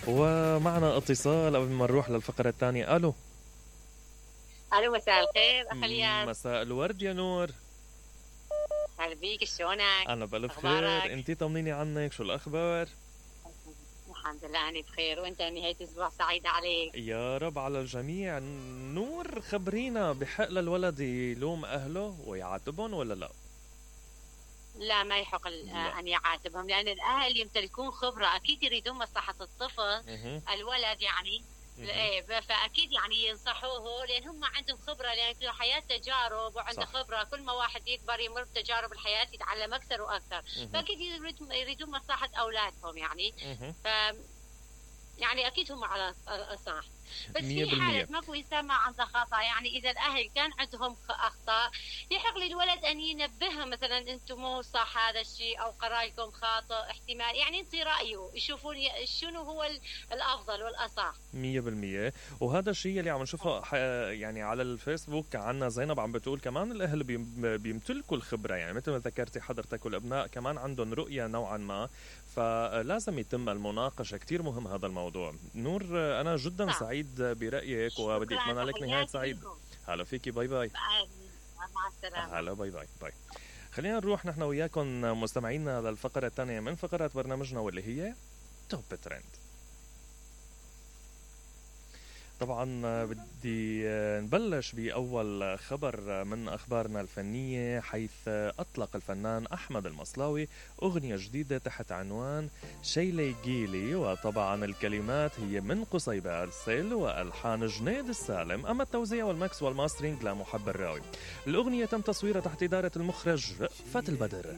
ومعنا اتصال قبل ما نروح للفقرة الثانية. الو الو، مساء الخير اخ الياس. مساء الورد يا نور. هلا بيك، شلونك؟ انا بألف خير، انتي طمنيني عنك، شو الاخبار؟ الحمد لله انا بخير، وانت نهاية اسبوع سعيدة عليك. يا رب على الجميع. نور خبرينا، بحق للولد يلوم اهله ويعاتبهم ولا لا؟ لا، ما يحق ان يعاتبهم، لان الاهل يمتلكون خبرة، اكيد يريدون مصلحة الطفل. الولد يعني فاكيد يعني ينصحوه، لان هم عندهم خبره، لان في الحياه تجارب وعنده خبره. كل ما واحد يكبر يمر بتجارب الحياه يتعلم اكثر واكثر. فاكيد يريدون مصلحه اولادهم يعني. ف يعني اكيد هم على الصح، بس في حالة ماكو انسان ما عنده خطأ. يعني اذا الاهل كان عندهم اخطاء يحق للولد ان ينبههم، مثلا انتم مو صح هذا الشيء، او قرايكم خاطئ احتمال، يعني ينطي رايه، يشوفون شنو هو الافضل والاصح 100%. وهذا الشيء اللي عم نشوفه يعني على الفيسبوك. عنا زينب عم بتقول كمان الاهل بيمتلكوا الخبره، يعني مثل ما ذكرتي حضرتك، والابناء كمان عندهم رؤيه نوعا ما، فلازم يتم المناقشه. كثير مهم هذا الموضوع. نور انا جدا سعيد برأيك، وبدي اتمنى لك نهاية سعيدة. هلا فيكي، باي باي. مع السلامة. هلا، باي باي باي. خلينا نروح نحن وياكم مستمعينا للفقرة الثانية من فقرات برنامجنا، واللي هي توب ترند. طبعا بدي نبلش بأول خبر من أخبارنا الفنية، حيث أطلق الفنان أحمد المصلاوي أغنية جديدة تحت عنوان شيلي جيلي، وطبعا الكلمات هي من قصيبة أرسل وألحان جنيد السالم، أما التوزيع والمكس والماسترينج لمحب الراوي. الأغنية تم تصويرها تحت إدارة المخرج رأفت البدر.